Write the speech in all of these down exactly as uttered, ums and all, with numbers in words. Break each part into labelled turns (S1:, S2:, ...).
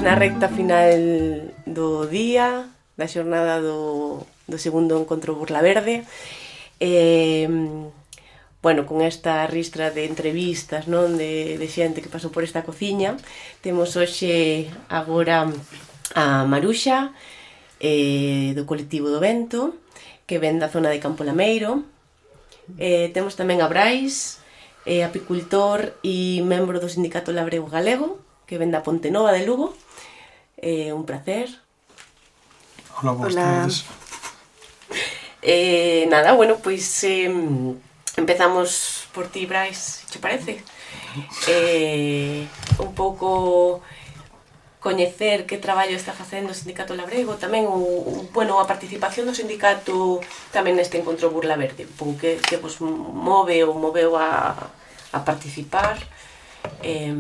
S1: Estamos na recta final do día, da xornada do, do segundo encontro Burla Verde. Eh, bueno, con esta ristra de entrevistas, non, de, de xente que pasou por esta cociña, temos hoxe agora a Maruxa, eh, do colectivo do Vento, que ven da zona de Campo Lameiro. Eh, temos tamén a Brais, eh, apicultor e membro do Sindicato Labrego Galego, que ven da Ponte Nova de Lugo. Eh, un placer.
S2: Hola, boas tardes.
S1: Eh, nada, bueno, pois eh, empezamos por ti, Brais, che parece? Eh, un pouco coñecer que traballo está facendo o Sindicato Labrego, tamén o, o, bueno, a participación do sindicato tamén neste encontro Burla Verde, un pouco que, que vos move ou moveu a, a participar. Eh,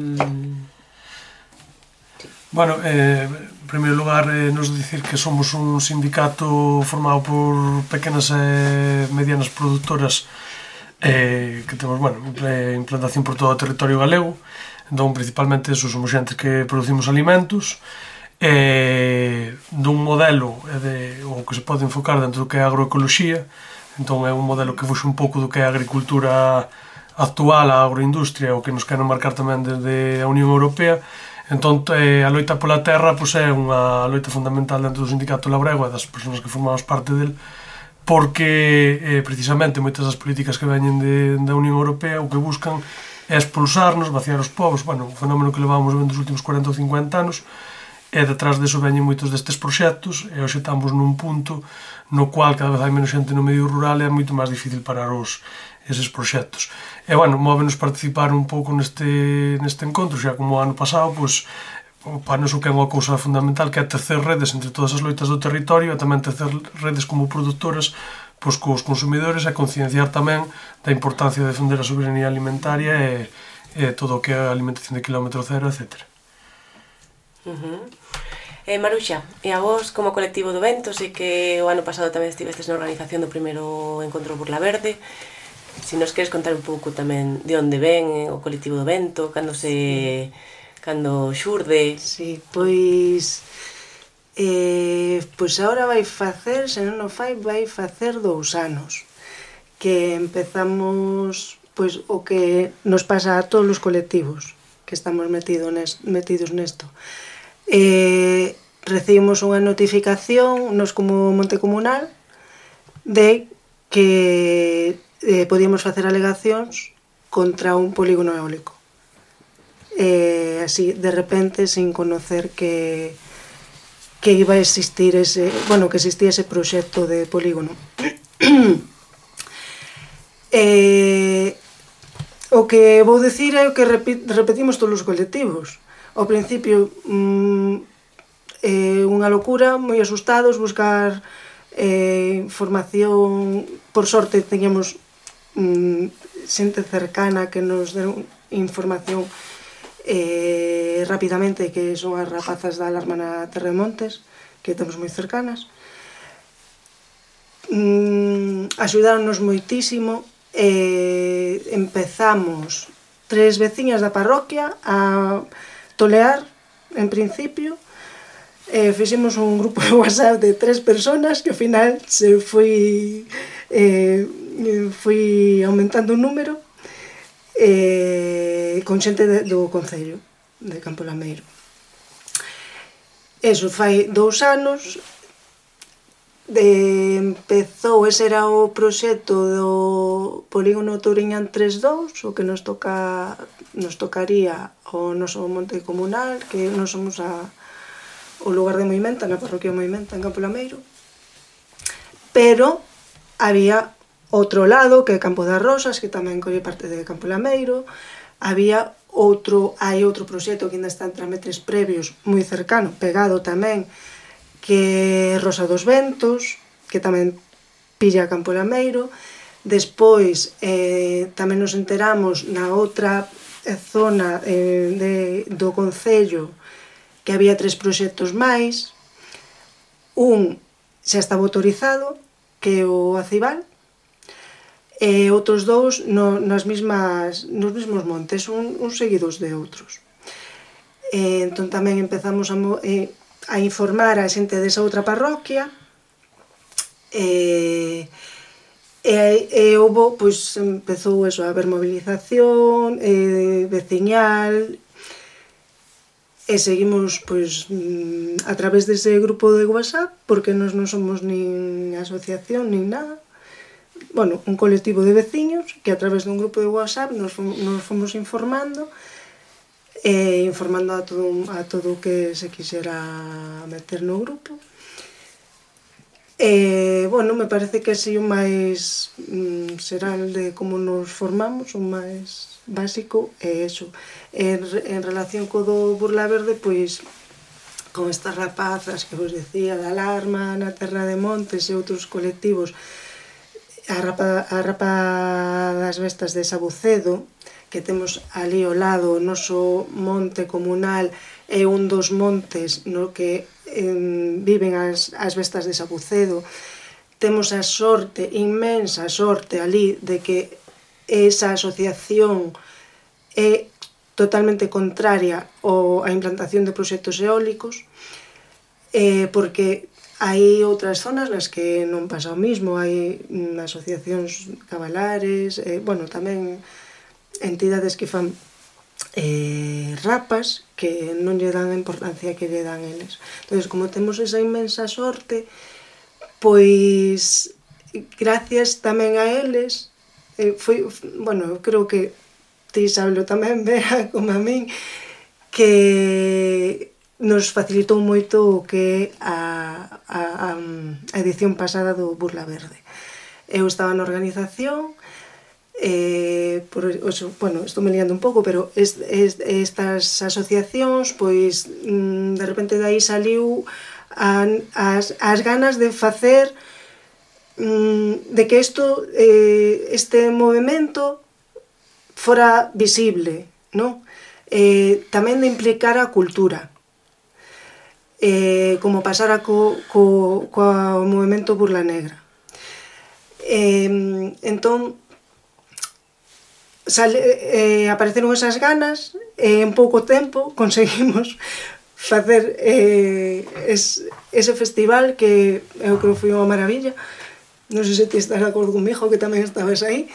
S2: Bueno, eh, en primeiro lugar, eh, nos dicir que somos un sindicato formado por pequenas e medianas produtoras eh, que temos, bueno, implantación por todo o territorio galego. Entón, principalmente, eso, somos xentes que producimos alimentos eh, dun modelo de, o que se pode enfocar dentro do que é a agroecoloxía. Entón, é un modelo que fuxe un pouco do que é a agricultura actual, a agroindustria, o que nos queren marcar tamén desde a Unión Europea. Entón, eh, a loita pola terra pois, é unha loita fundamental dentro do Sindicato Labrego e das persoas que formamos parte del, porque eh, precisamente moitas das políticas que veñen de, da Unión Europea o que buscan é expulsarnos, vaciar os povos, bueno, un fenómeno que levamos vendo os últimos cuarenta ou cincuenta anos, e detrás deso veñen moitos destes proxectos, e hoxe estamos nun punto no cual cada vez hai menos xente no medio rural e é moito máis difícil parar os eses proxectos. E, bueno, móvenos participar un pouco neste, neste encontro, xa como o ano pasado, pois, para nos o que é unha cousa fundamental, que é tecer redes entre todas as loitas do territorio e tamén tecer redes como produtoras pois, cos consumidores e concienciar tamén da importancia de defender a soberanía alimentaria e, e todo o que é a alimentación de kilómetro cero, etcétera.
S1: Uh-huh. Eh, Maruxa, e a vos como colectivo do Vento, sei que o ano pasado tamén estivestes na organización do primeiro encontro Burla Verde. Si nos queres contar un pouco tamén de onde ven o colectivo do Vento, cando se... cando xurde...
S3: Sí, pois... Eh, pois agora vai facer, se non o fai, vai facer dous anos que empezamos pois o que nos pasa a todos os colectivos que estamos metido nes, metidos nesto. Eh, recibimos unha notificación, nos como Monte Comunal, de que eh, podíamos facer alegacións contra un polígono eólico. Eh, así, de repente, sin conocer que, que iba a existir ese, bueno, que existía ese proxecto de polígono. eh, o que vou dicir é o que repetimos todos os colectivos. Ao principio, mm, eh, unha locura, moi asustados, buscar eh, información. Por sorte, teníamos mm, xente cercana que nos deu información eh, rapidamente, que son as rapazas da alarma na Terremontes, que temos moi cercanas. Mm, axudáronnos moitísimo. Eh, empezamos tres veciñas da parroquia a tolear, en principio. Eh, fixemos un grupo de WhatsApp de tres personas que ao final se foi eh, foi aumentando o número eh, con xente de, do Concello de Campo Lameiro. Eso fai dous anos. De, empezou, ese era o proxecto do polígono Touriñán tres dous, o que nos toca nos tocaría o noso Monte Comunal, que nos somos a, o lugar de Moimenta, na parroquia de Moimenta, en Campo Lameiro. Pero había outro lado, que é Campo das Rosas, que tamén colle parte de Campo Lameiro. Había outro, hai outro proxecto que ainda está en trámites previos, moi cercano, pegado tamén, que é Rosa dos Ventos, que tamén pilla Campo Lameiro. Despois eh, tamén nos enteramos na outra zona eh, de, do Concello que había tres proxectos máis. Un xa estaba autorizado, que é o Acibal, e outros dous no, nas mismas, nos mesmos montes, un, uns seguidos de outros. E entón tamén empezamos a, eh, a informar a xente desa outra parroquia, e, e, e houve, pois, empezou eso, a haber movilización, e, veciñal, e seguimos, pois, a través dese grupo de WhatsApp, porque nós non somos nin asociación, nin nada, bueno, un colectivo de veciños, que a través dun grupo de WhatsApp nos fomos, nos fomos informando, e informando a todo, a todo o que se quixera meter no grupo. E, bueno, me parece que así o máis mm, xeral de como nos formamos, o máis básico é eso. En, en relación co do Burla Verde, pois, con estas rapazas que vos decía, da Alarma, na Terra de Montes e outros colectivos, a Rapa, a Rapa das Vestas de Sabucedo, que temos ali ao lado o noso monte comunal, é un dos montes no que eh, viven as, as bestas de Sabucedo. Temos a sorte, inmensa sorte ali, de que esa asociación é totalmente contraria ao, a implantación de proxectos eólicos, eh, porque hai outras zonas nas que non pasa o mismo, hai mm, asociacións cabalares, eh, bueno, tamén entidades que fan eh, rapas que non lle dan a importancia que lle dan eles. Entón, como temos esa inmensa sorte, pois gracias tamén a eles, eh, foi, bueno, creo que ti sabelo tamén, Bea, como a min, que nos facilitou moito o que a, a, a edición pasada do Burla Verde. Eu estaba na organización, Eh, por, oso, bueno, estou me liando un pouco, pero es, es, estas asociacións, pois mm, de repente de aí saliu a, as, as ganas de facer mm, de que isto, eh, este movimento fora visible, non? Eh, tamén de implicar a cultura, eh, como pasara co, co, co movimento Burla Negra. Eh, entón, Sale, eh, apareceron esas ganas e en pouco tempo conseguimos facer eh, es, ese festival que eu creo foi unha maravilla. Non sei se ti estás de acordo comigo, que tamén estabas aí,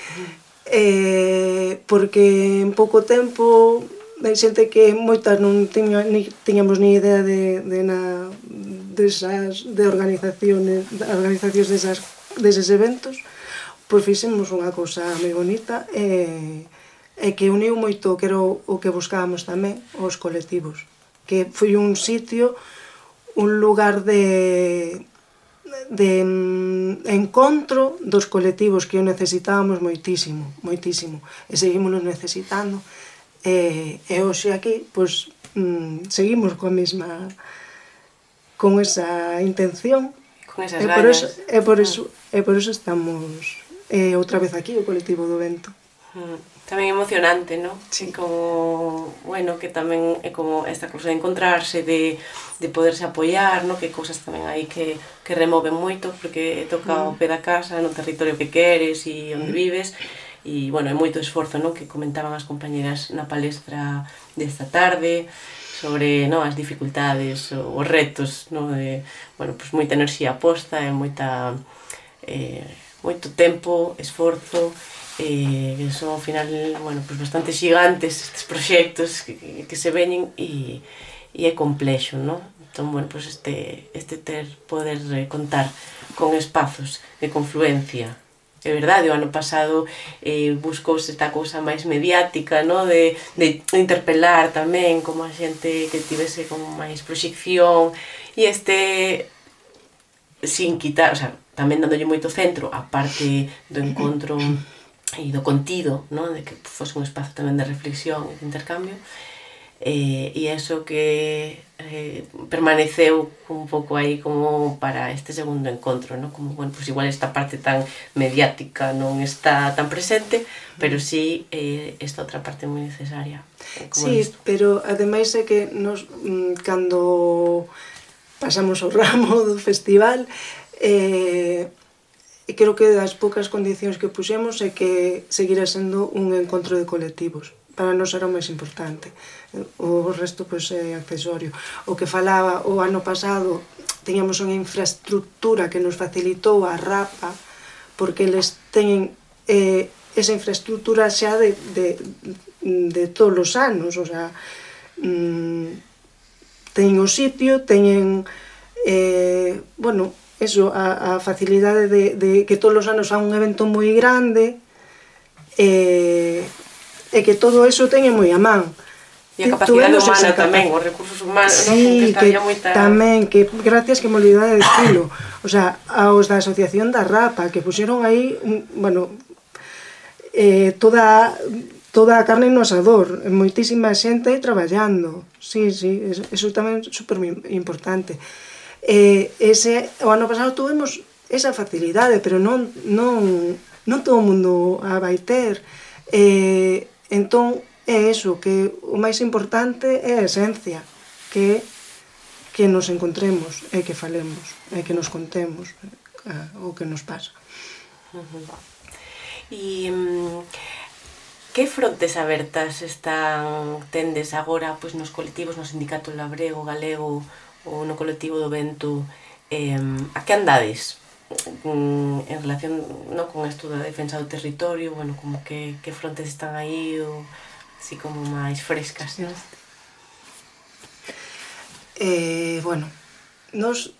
S3: eh, porque en pouco tempo hai xente que moitas non tiña, ni, tiñamos ni idea de, de, na, desas, de organizaciones, de organizacións desas, deses eventos. Pois fixemos unha cousa moi bonita e, e que uniu moito, que era o, o que buscábamos tamén, os colectivos. Que foi un sitio, un lugar de, de encontro dos colectivos que o necesitábamos moitísimo, moitísimo. E seguimos necesitando. E, e hoxe aquí, pois, mm, seguimos coa mesma, con esa intención.
S1: Con esas
S3: e por eso, e por eso, e por eso estamos eh, outra vez aquí, o colectivo do vento.
S1: Tamén emocionante, non?
S3: Sí.
S1: Como, bueno, que tamén é como esta cousa de encontrarse, de, de poderse apoiar, non? Que cousas tamén aí que, que removen moito, porque toca o pé da casa, no territorio que queres e onde vives, e, bueno, é moito esforzo, non? Que comentaban as compañeras na palestra desta tarde, sobre, non, as dificultades, os retos, non? De, bueno, pues moita enerxía posta e moita... Eh, moito tempo, esforzo, eh, que son ao final, bueno, pues bastante xigantes estes proxectos que, que se veñen e, e é complexo, non? Entón, bueno, pues este, este ter, poder eh, contar con espazos de confluencia. É verdade, o ano pasado eh, buscouse esta cousa máis mediática, non? De, de interpelar tamén como a xente que tivese como máis proxección, e este, sin quitar, o sea, tamén dándolle moito centro a parte do encontro e do contido, non? De que fose un espazo tamén de reflexión e de intercambio, e, e eso que eh, permaneceu un pouco aí como para este segundo encontro, non? Como, bueno, pues igual esta parte tan mediática non está tan presente, pero sí eh, esta outra parte moi necesaria.
S3: Sí, isto. Pero ademais é que nos, cando pasamos o ramo do festival, Eh, e creo que das poucas condicións que puxemos é que seguirá sendo un encontro de colectivos, para nós era o máis importante. O resto, pois, é accesorio. O que falaba o ano pasado, teñamos unha infraestructura que nos facilitou a Rapa, porque eles teñen eh, esa infraestructura xa de, de, de todos os anos, o sea, mmm, teñen o sitio, teñen, eh, bueno, eso, a, a facilidade de, de que todos os anos há un evento moi grande, e, e que todo eso teñen moi a man.
S1: E a capacidade humana tamén, os recursos humanos,
S3: sí,
S1: non? Que estaría moita...
S3: tamén, que gracias que me olvidade de decirlo, o sea, aos da Asociación da Rapa, que puxeron aí, bueno, eh, toda... toda a carne no asador, moitísima xente aí traballando. Sí, sí, eso, eso tamén é super importante. Eh, ese, o ano pasado tuvemos esa facilidade, pero non, non, non todo o mundo a vai ter. Eh, entón, é eso, que o máis importante é a esencia, que que nos encontremos, e que falemos, e que nos contemos uh, o que nos pasa.
S1: E... Um... Que frontes abertas están tendes agora pois, nos colectivos, no sindicato labrego, galego ou no colectivo do vento? Eh, a que andades mm, en relación no, con isto da defensa do territorio? Bueno, como que, que frontes están aí ou así como máis frescas? ¿No?
S3: Eh, bueno, nos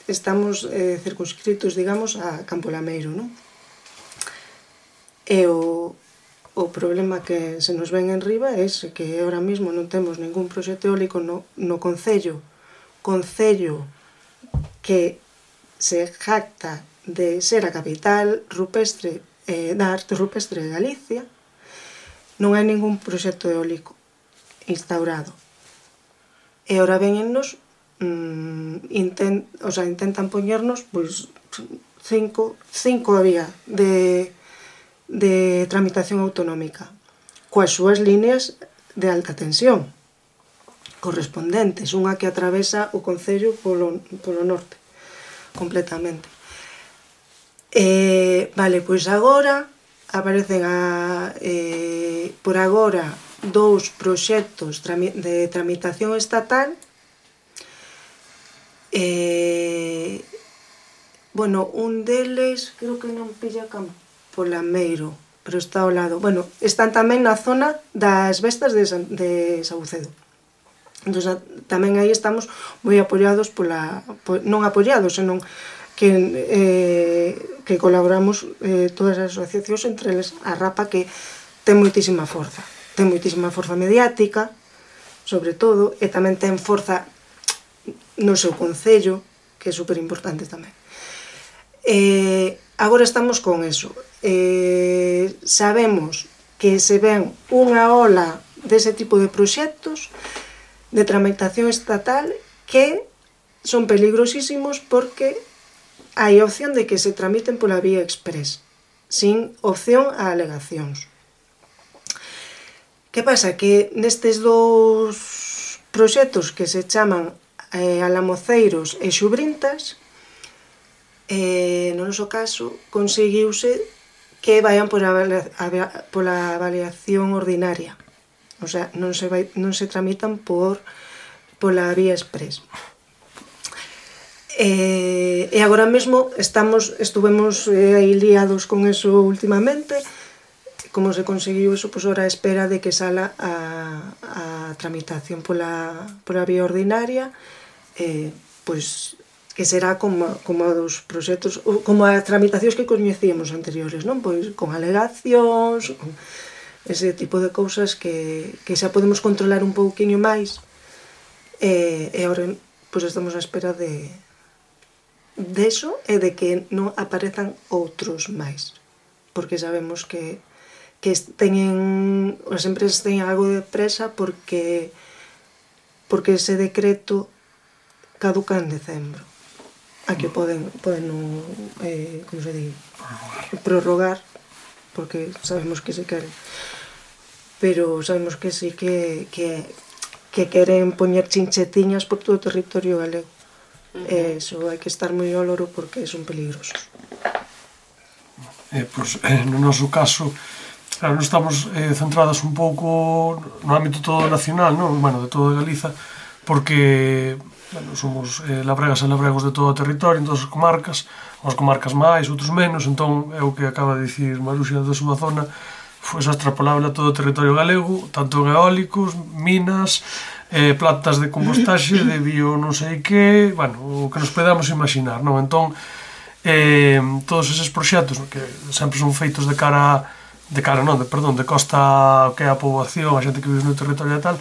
S3: estamos eh, circunscritos, digamos, a Campo Lameiro, non? E o O problema que se nos ven en riba é ese, que ahora mismo non temos ningún proxecto eólico no, no Concello. Concello que se jacta de ser a capital rupestre eh, da arte rupestre de Galicia. Non hai ningún proxecto eólico instaurado. E ahora venennos, mmm, intent, o sea, intentan poñernos pois, cinco, cinco había de... de tramitación autonómica coas súas líneas de alta tensión correspondentes, unha que atravesa o Concello polo, polo norte completamente. Eh, vale, pois agora aparecen a, eh, por agora dous proxectos de tramitación estatal. Eh, bueno, un deles creo que non pilla campo Lameiro, pero está ao lado. Bueno, están tamén na zona das Vestas de, San, de Saucedo. Entón, tamén aí estamos moi apoiados pola... Po, non apoiados, senón que, eh, que colaboramos eh, todas as asociacións, entre eles a Rapa, que ten moitísima forza. Ten moitísima forza mediática, sobre todo, e tamén ten forza no seu concello, que é super importante tamén. Eh, agora estamos con eso. Eh, sabemos que se ven unha ola dese tipo de proxectos de tramitación estatal que son peligrosísimos porque hai opción de que se tramiten pola vía express, sin opción a alegacións. Que pasa? Que nestes dous proxectos que se chaman eh, Alamoceiros e Xubrintas, eh, no noso caso, conseguiuse que vayan por a, a, pola avaliación ordinaria. O sea, non se, vai, non se tramitan por pola vía express. E, e agora mesmo estamos, estuvemos eh, aí liados con eso últimamente. Como se conseguiu eso, pois ora a espera de que sala a, a tramitación pola, pola vía ordinaria, eh, pois que será como, como dos proxectos, como as tramitacións que coñecíamos anteriores, non? Pois con alegacións, con ese tipo de cousas que, que xa podemos controlar un pouquiño máis, e, e agora pois estamos á espera de deso e de que non aparezan outros máis, porque sabemos que, que teñen, as empresas teñen algo de presa porque porque ese decreto caduca en decembro. Aquí poden, poden eh, como se di, prorrogar, porque sabemos que se queren, pero sabemos que sí que, que, que queren poñer chinchetiñas por todo o territorio galego. Uh-huh. E iso hai que estar moi ao loro porque son peligrosos.
S2: Eh, pois, eh, no noso caso, Claro, non estamos eh, centradas un pouco no ámbito todo nacional, non? Bueno, de toda Galiza, porque bueno, somos eh, labregas e labregos de todo o territorio, en todas as comarcas, unhas comarcas máis, outros menos, entón é o que acaba de dicir Maruxa da súa zona, foi xa extrapolable a todo o territorio galego, tanto en eólicos, minas, eh, plantas de compostaxe, de bio non sei que, bueno, o que nos podamos imaginar, non? Entón, eh, todos eses proxectos que sempre son feitos de cara a de cara non, de, perdón, de costa que é a poboación, a xente que vive no territorio e tal,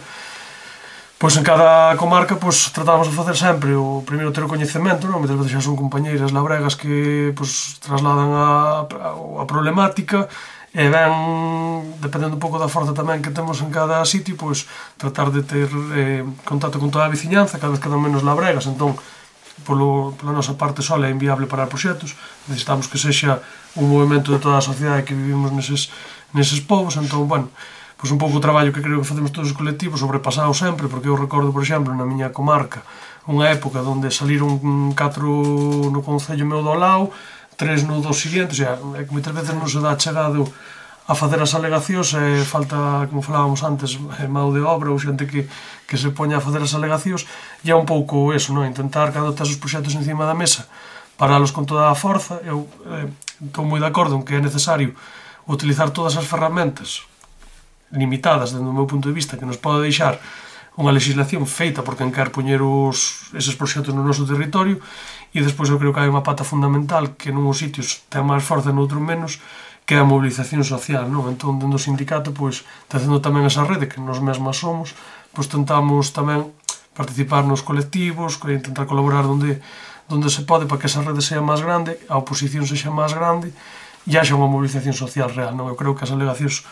S2: pois en cada comarca pois tratamos de facer sempre o primeiro ter o coñecemento, non? Muitas veces xa son compañeiras labregas que pois trasladan a, a, a problemática e ben, dependendo un pouco da forza tamén que temos en cada sitio, pois tratar de ter eh, contacto con toda a veciñanza, cada vez quedan menos labregas, entón polo, pola nosa parte sola é inviable para proxectos, necesitamos que sexa un movimento de toda a sociedade que vivimos neses, neses povos, entón, bueno, pois un pouco o traballo que creo que facemos todos os colectivos, sobrepasado sempre, porque eu recordo, por exemplo, na miña comarca, unha época onde saliron catro no concello meu do Lao, tres no dos seguintes, e é que moitas veces non se dá chegado a facer as alegacións e falta, como falábamos antes, mão de obra ou xente que, que se poña a facer as alegacións, e é un pouco eso, non? Intentar, cando tes os proxectos encima da mesa, paralos con toda a forza. Eu eh, estou moi de acordo en que é necesario utilizar todas as ferramentas limitadas, dentro do meu punto de vista, que nos pode deixar unha legislación feita por quen quer poñer os, eses proxectos no noso territorio, e despois eu creo que hai unha pata fundamental que nunhos sitios ten máis forza e noutros menos, que é a mobilización social, non? Entón, dentro do sindicato, pois, tecendo tamén esa rede que nos mesmas somos, pois tentamos tamén participar nos colectivos, intentar colaborar onde, onde se pode para que esa rede sea máis grande, a oposición sexa máis grande e haxa unha mobilización social real, non? Eu creo que as alegacións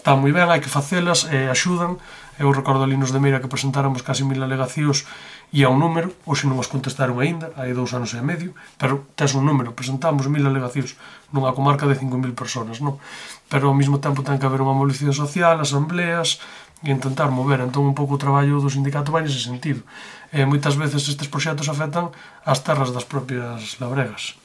S2: están moi ben, hai que facelas, e axudan. Eu recordo ali nos de Meira que presentáramos casi mil alegacións e a un número, hoxe non os contestaron aínda, hai dous anos e medio, pero tes un número, presentamos mil alegacións nunha comarca de cinco mil personas, non? Pero ao mesmo tempo ten que haber unha mobilización social, asambleas, e intentar mover, entón un pouco o traballo do sindicato vai nese sentido. E moitas veces estes proxectos afectan as terras das propias labregas.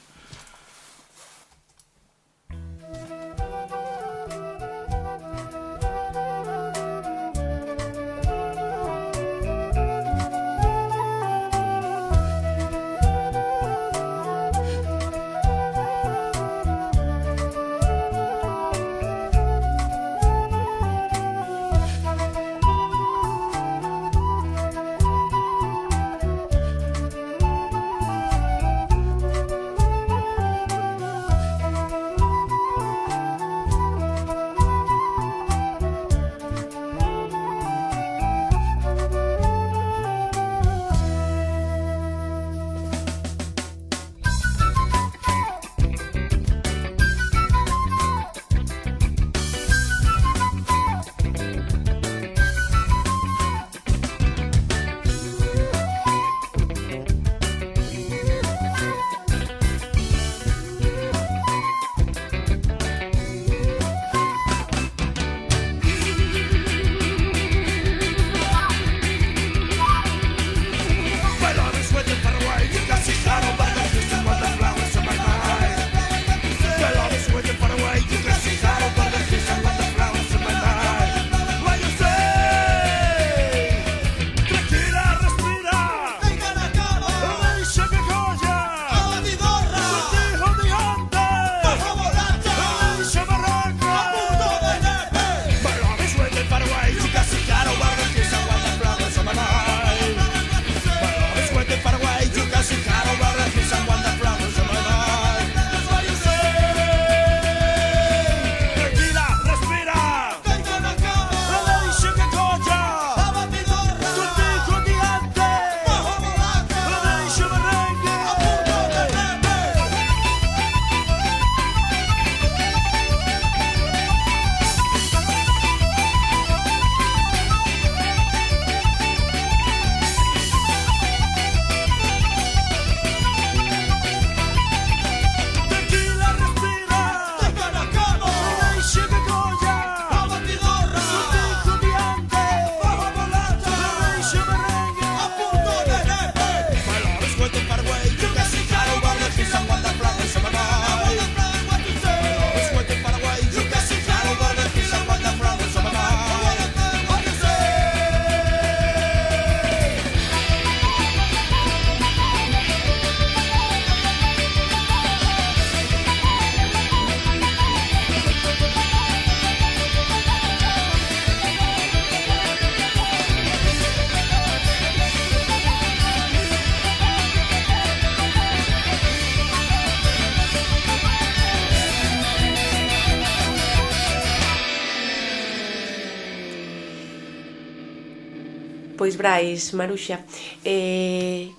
S1: Pois, Brais, Maruxa, eh,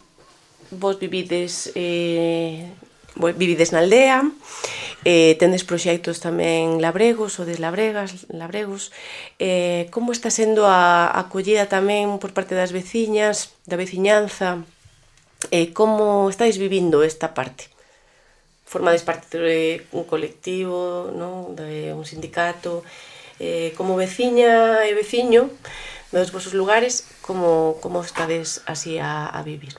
S1: vos vivides, eh, vivides na aldea, eh, tendes proxectos tamén labregos ou deslabregas, labregos. Eh, como está sendo a acollida tamén por parte das veciñas, da veciñanza? Eh, como estáis vivindo esta parte? Formades parte de un colectivo, non? De un sindicato? Eh, como veciña e veciño dos vosos lugares, como, como estades así a, a vivir?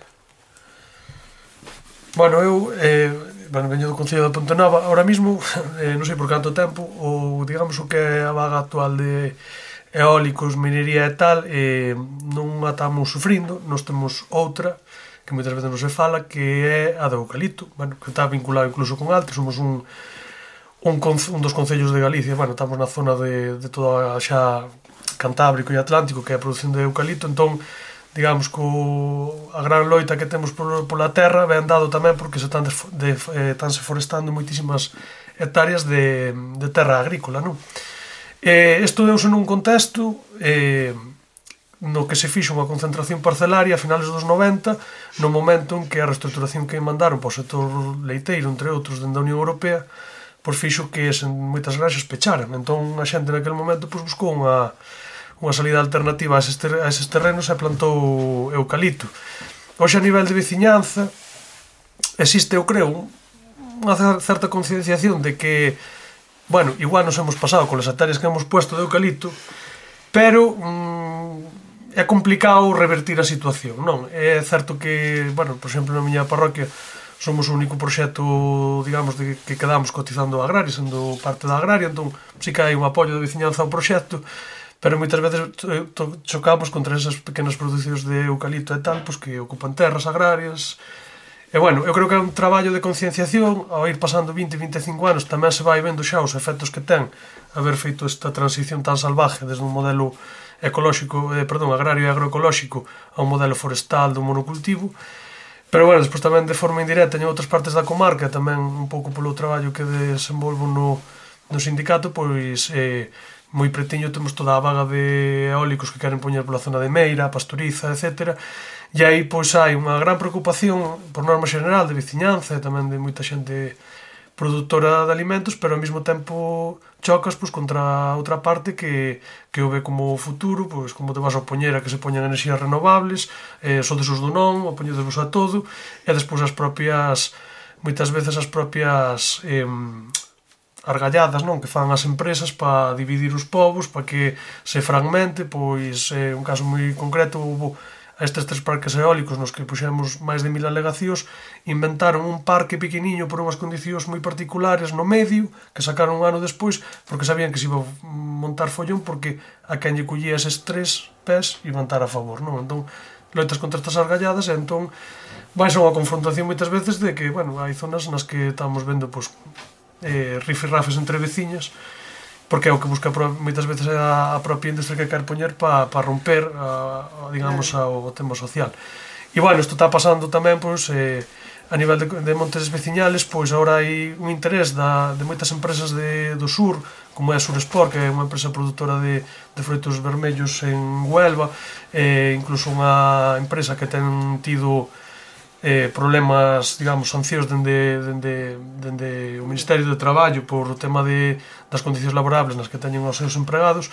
S2: Bueno, eu eh, bueno, veño do Concello de Pontenova. Ahora mismo, eh, non sei por canto tempo, o, digamos, o que é a vaga actual de eólicos, minería e tal, eh, non a estamos sufrindo. Nós temos outra, que moitas veces non se fala, que é a do eucalipto, bueno, que está vinculado incluso con Alto. Somos un, un, un dos concellos de Galicia, bueno, estamos na zona de, de toda xa Cantábrico e Atlántico, que é a produción de eucalipto. Entón, digamos que o, a gran loita que temos por, pola terra ven dado tamén porque se están, de, de, eh, están se forestando moitísimas hectáreas de, de terra agrícola, non? Eh, isto deuse nun contexto eh, no que se fixo unha concentración parcelaria a finales dos noventa, no momento en que a reestructuración que mandaron para o sector leiteiro, entre outros, dende a Unión Europea, pois fixo que en moitas granxas pecharan. Entón a xente naquele momento pois buscou unha unha salida alternativa a eses, ter, a eses terrenos e plantou eucalipto. Hoxe, a nivel de veciñanza, existe, eu creo, unha certa concienciación de que, bueno, igual nos hemos pasado con as hectáreas que hemos puesto de eucalipto, pero mmm, é complicado revertir a situación, non? É certo que, bueno, por exemplo, na miña parroquia somos o único proxecto, digamos, de que quedamos cotizando a agraria, sendo parte da agraria, entón sí que hai un apoio de veciñanza ao proxecto, pero moitas veces chocamos contra esas pequenas producións de eucalipto e tal, pois que ocupan terras agrarias. E, bueno, eu creo que é un traballo de concienciación. Ao ir pasando vinte, vinte e cinco anos tamén se vai vendo xa os efectos que ten haber feito esta transición tan salvaje desde un modelo ecolóxico, eh, perdón, agrario e agroecolóxico a un modelo forestal do monocultivo. Pero, bueno, despois tamén de forma indirecta en outras partes da comarca, tamén un pouco polo traballo que desenvolvo no, no sindicato, pois eh, moi pretiño temos toda a vaga de eólicos que queren poñer pola zona de Meira, Pastoriza, etcétera. E aí pois hai unha gran preocupación por norma xeneral de veciñanza e tamén de moita xente produtora de alimentos, pero ao mesmo tempo chocas pois contra outra parte que, que o ve como futuro, pois como te vas a opoñer a que se poñan enerxías renovables, eh, sodes os do non, opoñedevos a todo, e despois as propias, moitas veces as propias eh, argalladas, non, que fan as empresas para dividir os povos, para que se fragmente. Pois eh, un caso moi concreto, houve estes tres parques eólicos nos que puxemos máis de mil alegacións, inventaron un parque pequeniño por unhas condicións moi particulares no medio, que sacaron un ano despois, porque sabían que se iba a montar follón, porque a quen lle collía eses tres pés iban estar a favor, non? Entón, loitas contra estas argalladas, e entón vai ser unha confrontación moitas veces de que, bueno, hai zonas nas que estamos vendo, pois, eh, rifirrafes entre veciñas, porque é o que busca moitas veces a, a propia industria que quer poñer para pa romper a, a, digamos, ao tema social. E, bueno, isto está pasando tamén, pois, eh, a nivel de, de montes veciñales, pois agora hai un interés da, de moitas empresas de, do sur, como é a Suresport, que é unha empresa produtora de, de froitos vermellos en Huelva, e incluso unha empresa que ten tido Eh, problemas, digamos, sancións dende, dende, dende o Ministerio de Traballo por o tema de, das condicións laborables nas que teñen os seus empregados.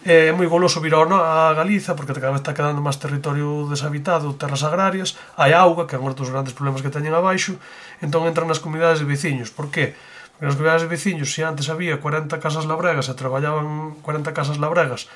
S2: É eh, moi goloso vir ao, no, a Galiza, porque cada vez está quedando máis territorio deshabitado, terras agrarias, hai auga, que é un dos grandes problemas que teñen abaixo, entón entran nas comunidades de veciños. Por qué? Porque nas comunidades de veciños, se antes había cuarenta casas labregas e traballaban cuarenta casas labregas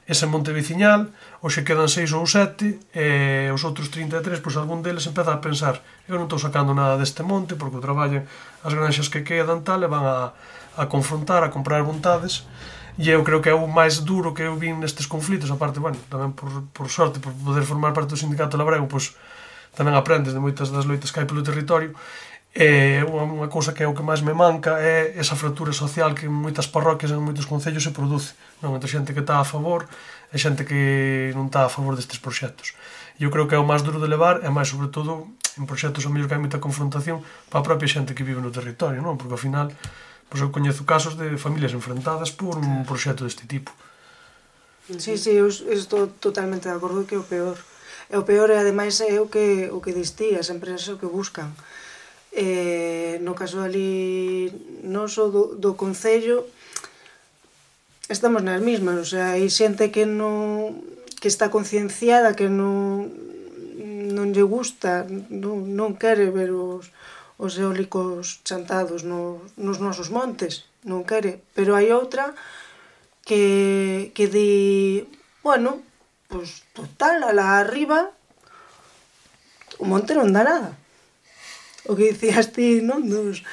S2: ese monte veciñal, hoxe quedan seis ou sete, e os outros trinta e tres, pois algún deles empeza a pensar: eu non estou sacando nada deste monte, porque o traballan as granxas que quedan tal, e van a, a confrontar, a comprar vontades. E eu creo que é o máis duro que eu vin nestes conflitos, aparte, bueno, tamén por, por sorte, por poder formar parte do sindicato labrego, pois tamén aprendes de moitas das loitas que hai pelo territorio. E unha cousa que é o que máis me manca é esa fractura social que en moitas parroquias e en moitos concellos se produce, non? Entre xente que está a favor e xente que non está a favor destes proxectos. E eu creo que é o máis duro de levar, e máis sobre todo en proxectos a mellor que hai moita confrontación para a propia xente que vive no territorio, non? Porque ao final, pois eu coñezo casos de familias enfrentadas por un proxecto deste tipo.
S3: Sí, sí, eu estou totalmente de acordo que é o peor. E o peor, e ademais, é o que, o que distí, as empresas o que buscan. Eh, no caso ali noso do, do Concello, estamos nas mismas, o sea, hai xente que non que está concienciada, que non non lle gusta, non, non quere ver os, os eólicos chantados no, nos nosos montes, non quere, pero hai outra que, que di, bueno, pois total, alá arriba o monte non dá nada. O que dicías ti, non, dos,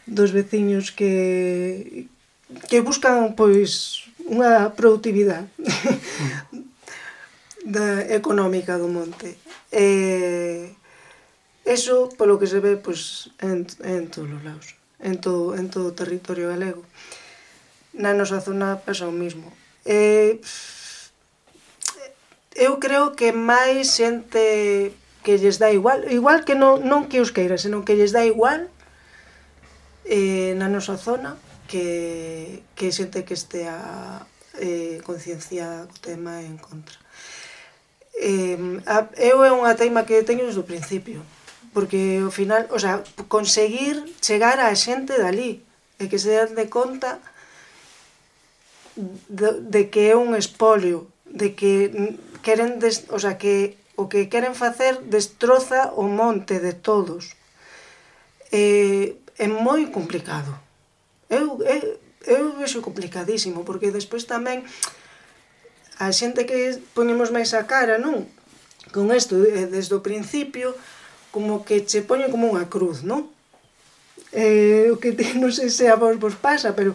S3: dos veciños que que buscan, pois, unha productividade da, económica do monte. E eso, polo que se ve, pois, en, en todos os lados, en todo, en todo o territorio galego. Na nosa zona pasa o mismo. E, eu creo que máis xente que lles dá igual, igual que non, non que os queira, senón que lles dá igual eh, na nosa zona, que, que xente que estea eh, concienciada co tema e en contra. Eh, a, eu é unha teima que teño desde o principio, porque ao final, o sea, conseguir chegar á xente dali e que se dan de conta de, de que é un espolio, de que queren, des, o sea, que o que queren facer destroza o monte de todos. Eh, é moi complicado. Eu, eu, eu vexo complicadísimo, porque despois tamén a xente que poñemos máis a cara, non? Con isto, desde o principio, como que che poñen como unha cruz, non? Eh, o que ti, non sei se a vos vos pasa, pero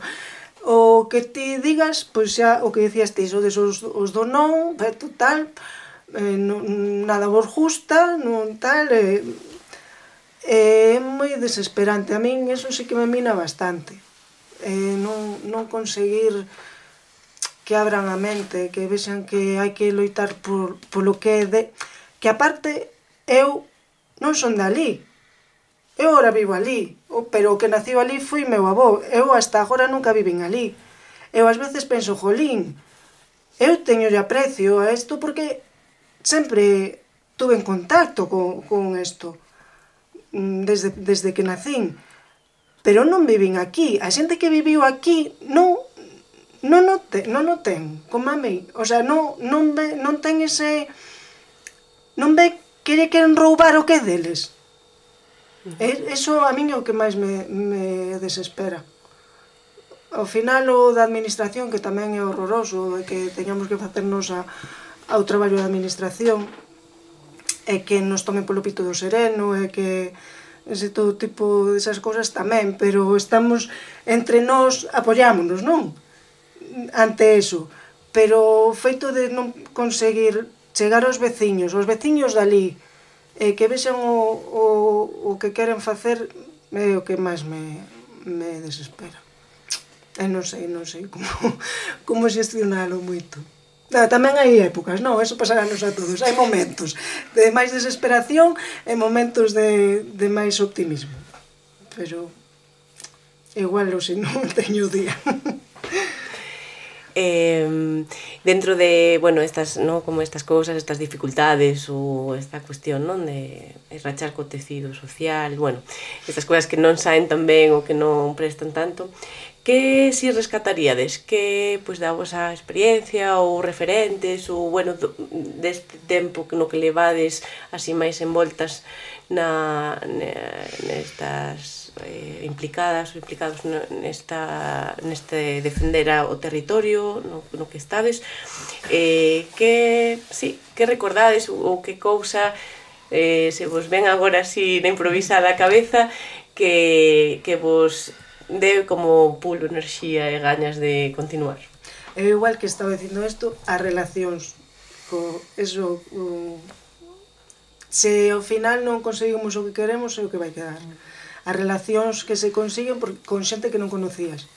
S3: o que ti digas, pois xa, o que decías ti, o desos, os do non, total, eh, non, nada vos gusta, non tal, eh, é moi desesperante. A min eso sí que me mina bastante. Eh, non, non conseguir que abran a mente, que vexan que hai que loitar por, por lo que é de... Que aparte, eu non son dali. Eu agora vivo ali, pero o que naciu ali foi meu avó. Eu hasta agora nunca vivín ali. Eu ás veces penso, jolín, eu teño aprecio a isto porque sempre tuve en contacto con, con isto desde, desde que nacín. Pero non vivín aquí. A xente que viviu aquí non non o ten, non o ten, como a mí. O sea, non, non, ve, non ten ese... Non ve que lle queren roubar o que é deles. Uh -huh. Eso a min é o que máis me, me desespera. Ao final, o da administración, que tamén é horroroso, de que teñamos que facernos a, ao traballo da administración, e que nos tomen polo pito do sereno, e que ese todo tipo desas cousas tamén, pero estamos entre nós, apoiámonos, non? Ante eso, pero o feito de non conseguir chegar aos veciños, aos veciños dali, e que vexan o, o, o que queren facer, é o que máis me, me desespera. E non sei, non sei como, como xestionalo moito. Tamén hai épocas, non? Eso pasará-nos a todos. Hai momentos de máis desesperación e momentos de, de máis optimismo. Pero igual, se non teño día.
S1: Eh, dentro de, bueno, estas, ¿no? Como estas cousas, estas dificultades ou esta cuestión, non? De rachar co tecido social, bueno, estas cousas que non saen tan ben ou que non prestan tanto, que si rescataríades? Que, pois, da vosa experiencia ou referentes ou, bueno, deste tempo no que levades así máis envoltas na, nestas eh, implicadas ou implicados nesta, neste defender o territorio no, no que estades, eh, que, sí, que recordades ou que cousa eh, se vos ven agora así na improvisada a cabeza que, que vos dé como pulo, enerxía e gañas de continuar.
S3: Eu igual que estaba dicindo isto, as relacións co, eso, o, se ao final non conseguimos o que queremos é o que vai quedar. As relacións que se consiguen por, con xente que non conocías.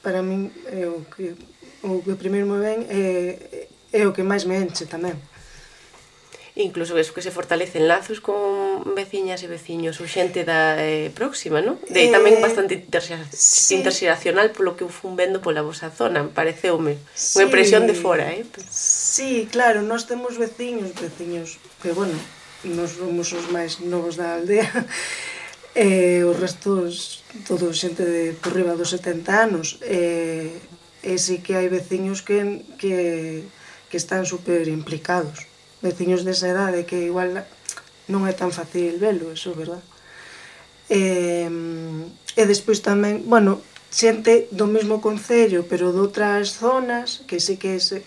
S3: Para min é o que, o que primeiro me ven é, é o que máis me enche tamén.
S1: Incluso eso que se fortalecen lazos con son veciñas e veciños ou xente da eh, próxima, non? De eh, tamén bastante interxera sí. interxeracional polo que eu fun vendo pola vosa zona, pareceume. Sí. Unha impresión de fora, eh?
S3: Sí, claro, nós temos veciños, veciños, que bueno, nós somos os máis novos da aldea, e os restos, todo xente de por riba dos setenta anos, e, e sí que hai veciños que, que, que están super implicados. Veciños desa edade que igual non é tan fácil velo, eso, verdad? E, e despois tamén, bueno, xente do mesmo concello, pero de outras zonas, que sí que se,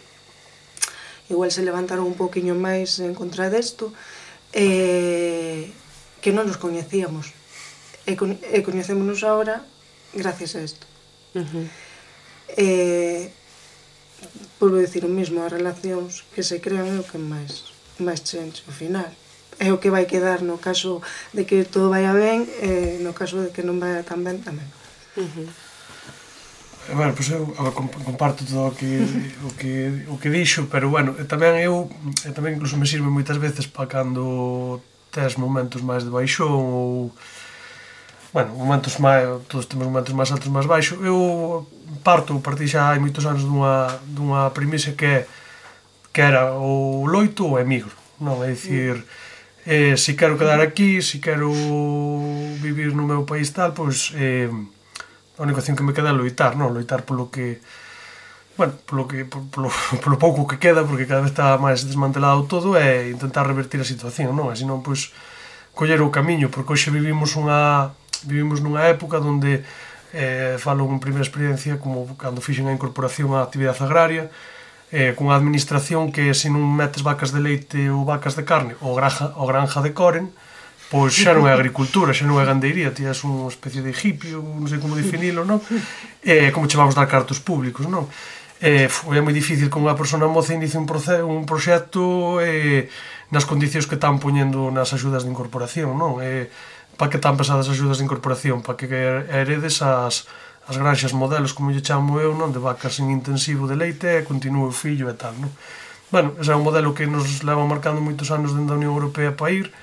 S3: igual se levantaron un poquinho máis en contra desto, e, que non nos coñecíamos. E, e coñecémonos agora gracias a isto. Uh-huh. E, por decir o mesmo, as relacións que se crean é o que máis, máis chenche ao final. É o que vai quedar no caso de que todo vaya ben e no caso de que non vaya tan ben tamén.
S2: Uh-huh. Bueno, pois eu comparto todo o que, o que, o que dixo, pero bueno, tamén eu tamén incluso me sirve moitas veces para cando tes momentos máis de baixón ou bueno, momentos máis, todos temos momentos máis altos, máis baixos. Eu parto, partí xa hai moitos anos dunha, dunha premisa que, que era o loito ou emigro, non? É dicir, eh, se quero quedar aquí, se quero vivir no meu país tal, pois eh, a única opción que me queda é loitar, non? Loitar polo que, bueno, polo, que, polo, polo pouco que queda, porque cada vez está máis desmantelado todo, é intentar revertir a situación, non? E senón, pois, coller o camiño, porque hoxe vivimos unha vivimos nunha época onde eh, falo en primeira experiencia como cando fixen a incorporación á actividade agraria eh, cunha administración que se non metes vacas de leite ou vacas de carne ou granja, ou granja de coren, pois xa non é agricultura, xa non é gandeiría, ti és unha especie de hippie, non sei como definilo, non? Eh, como che vamos dar cartos públicos, non? Eh, foi moi difícil que unha persona moza inicie un, proce un proxecto eh, nas condicións que están poñendo nas axudas de incorporación, non? Eh, para que tan pesadas as axudas de incorporación, para que heredes as, as granxas modelos, como lle chamo eu, non, de vacas en intensivo de leite e continúe o fillo e tal, non? Bueno, ese é un modelo que nos leva marcando moitos anos dentro da Unión Europea para ir,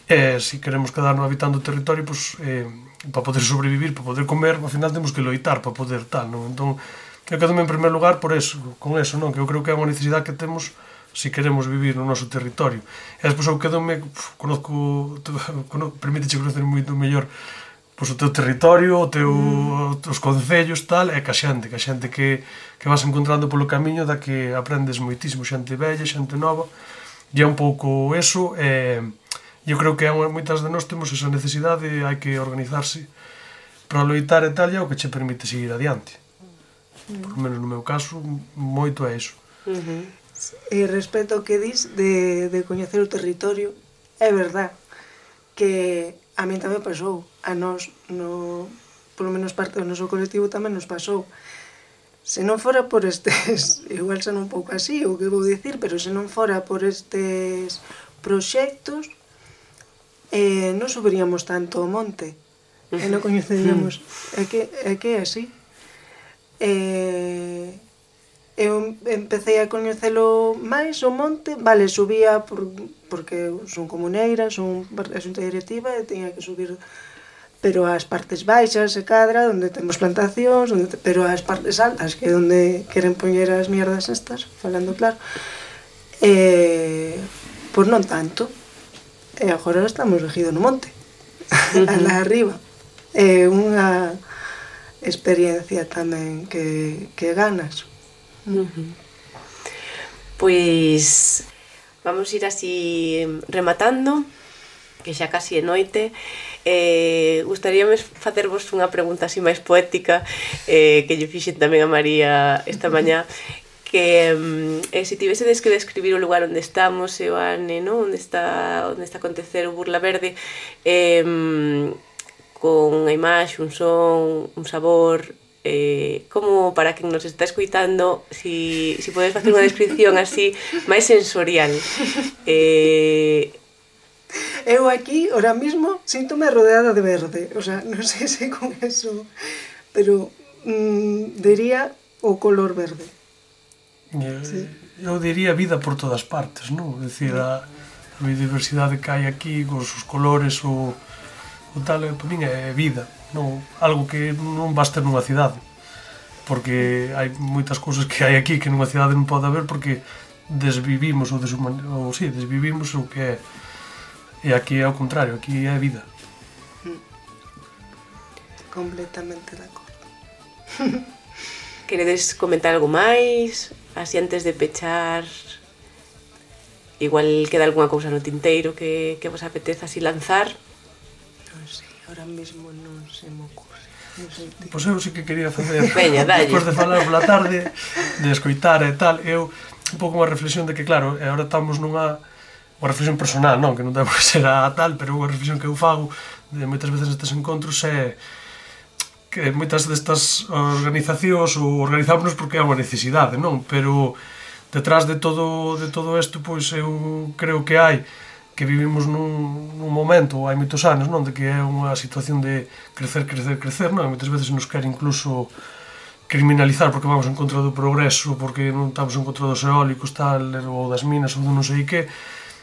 S2: e se queremos quedarnos habitando o territorio, pois, eh, para poder sobrevivir, para poder comer, ao final temos que loitar para poder tal, non? Entón, eu quedo en primeiro lugar por eso, con eso, non? Que eu creo que é unha necesidade que temos se queremos vivir no noso territorio. E despois eu quedome, conozco, permíteche conocer moito mellor pois, o teu territorio, o teu, mm. os concellos, tal, e que a xente, que a xente que, que vas encontrando polo camiño da que aprendes moitísimo, xente bella, xente nova, e é un pouco eso, e eu creo que moitas de nós temos esa necesidade, hai que organizarse para loitar e tal, e é o que che permite seguir adiante. Mm. Por menos no meu caso, moito é iso.
S3: Mm-hmm. E respecto ao que dis de, de coñecer o territorio, é verdad que a min tamén pasou, a nós, no, polo menos parte do noso colectivo tamén nos pasou. Se non fora por estes, igual son un pouco así, o que vou dicir, pero se non fora por estes proxectos, eh, non subiríamos tanto o monte, e non coñeceríamos, é que é que é así. Eh... Eu empecé a coñecelo máis o monte, vale, subía por, porque son comuneira, son a xunta directiva e tiña que subir, pero as partes baixas e cadra, onde temos plantacións, onde te, pero as partes altas, que é onde queren poñer as mierdas estas, falando claro, e, pois non tanto, e agora estamos regidos no monte, alá arriba, é unha experiencia tamén que, que ganas.
S1: Uh-huh. Pois vamos ir así rematando, que xa casi é noite. Eh, gustaríame facervos unha pregunta así máis poética, eh, que lle fixen tamén a María esta mañá, que eh, se tivesedes que describir o lugar onde estamos, e o ane, non? Onde está, onde está a acontecer o Burla Verde, eh, con a imaxe, un son, un sabor. Eh, como para quen nos está escoitando, si, si podes facer unha descripción así máis sensorial. Eh...
S3: Eu aquí, ahora mismo, síntome rodeada de verde, o sea, non sei se con eso, pero mm, diría o color verde.
S2: Eu, sí. eu diría vida por todas partes, non? É dicir, a, a biodiversidade que hai aquí, os, os colores, o, o tal, para min é vida, non, algo que non vas ter nunha cidade, porque hai moitas cousas que hai aquí que nunha cidade non pode haber porque desvivimos ou, deshuman, ou sí, desvivimos o que é, e aquí é ao contrario, aquí é vida.
S3: Completamente de acordo.
S1: Queredes comentar algo máis? Así antes de pechar, igual queda algunha cousa no tinteiro que, que vos apeteza así lanzar?
S3: Non sei, ahora mesmo non se me ocurre. Non sei.
S2: Pois eu sí que quería facer,
S1: Veña, dalle.
S2: despois de falar pola tarde, de escoitar e tal, eu un pouco unha reflexión de que, claro, agora estamos nunha unha reflexión personal, non, que non debe ser a tal, pero unha reflexión que eu fago de moitas veces nestes encontros é que moitas destas organizacións ou organizámonos porque é unha necesidade, non? Pero detrás de todo de todo isto, pois eu creo que hai que vivimos nun, nun momento, hai moitos anos, non, de que é unha situación de crecer, crecer, crecer, non? Moitas veces nos quer incluso criminalizar porque vamos en contra do progreso, porque non estamos en contra dos eólicos, tal, ou das minas, ou do non sei que.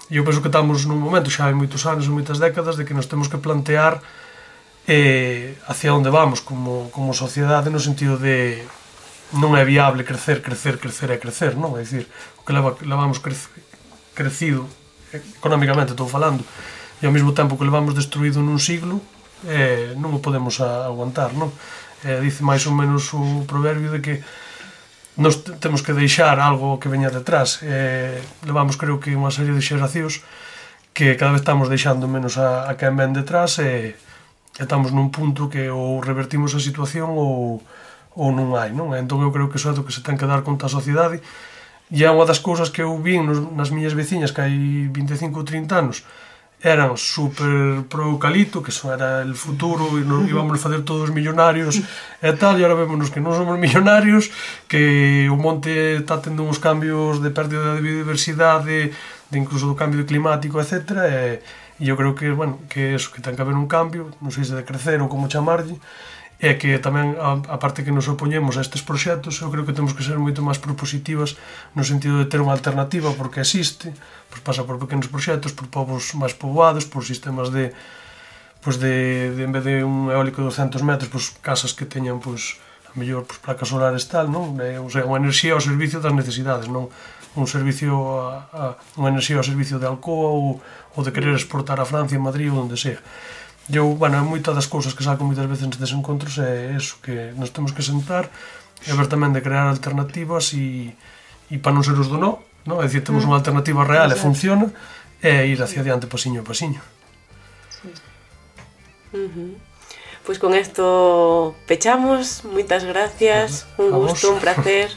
S2: E eu penso que estamos nun momento, xa hai moitos anos ou moitas décadas, de que nos temos que plantear eh, hacia onde vamos como, como sociedade, no sentido de non é viable crecer, crecer, crecer e crecer, non? É dicir, o que leva, levamos crece, crecido económicamente, estou falando, e ao mesmo tempo que levamos destruído nun siglo, eh, non o podemos a, aguantar, non? Eh, dice máis ou menos o proverbio de que nos temos que deixar algo que veña detrás. Eh, levamos, creo que, unha serie de xeracións que cada vez estamos deixando menos a, a quen ven detrás e, e estamos nun punto que ou revertimos a situación ou, ou non hai, non? Entón eu creo que iso é do que se ten que dar conta a sociedade. E é unha das cousas que eu vi nos, nas miñas veciñas que hai vinte e cinco ou trinta anos eran super pro eucalipto, que eso era el futuro e nos íbamos a facer todos millonarios e tal, e agora vémonos que non somos millonarios, que o monte está tendo uns cambios de pérdida de biodiversidade, de incluso do cambio climático, etcétera, e, e eu creo que, bueno, que eso, que ten que haber un cambio, non sei se de crecer ou como chamarlle, e que tamén, a, a parte que nos opoñemos a estes proxectos, eu creo que temos que ser moito máis propositivas no sentido de ter unha alternativa, porque existe, pois pasa por pequenos proxectos, por povos máis poboados, por sistemas de, pois de, de en vez de un eólico de doscientos metros, pois casas que teñan, pois, a mellor, pois, placas solares tal, non? E, o sea, unha enerxía ao servicio das necesidades, non un servicio a, a, unha enerxía ao servicio de Alcoa ou, ou de querer exportar a Francia, Madrid ou onde sea. Eu, bueno, moitas das cousas que saco moitas veces nestes encontros é eso, que nos temos que sentar e ver tamén de crear alternativas e, e para non ser os do no, no? É dicir, temos unha alternativa real e funciona e ir hacia adiante pasiño a pasiño.
S1: Sí. Uh-huh. Pois con isto pechamos, moitas gracias, un gusto, un placer.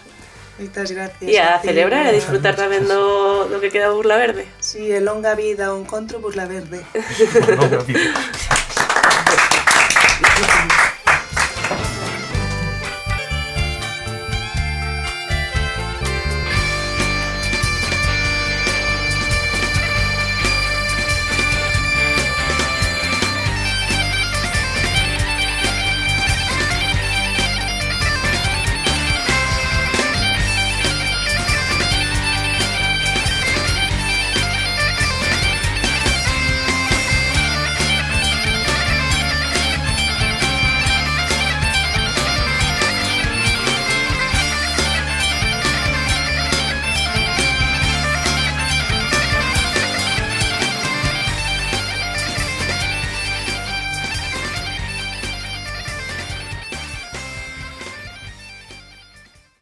S3: Moitas gracias.
S1: E a celebrar e disfrutar tamén do, do que queda Burla Verde.
S3: Si, sí, e longa vida o encontro Burla Verde.
S2: Longa vida.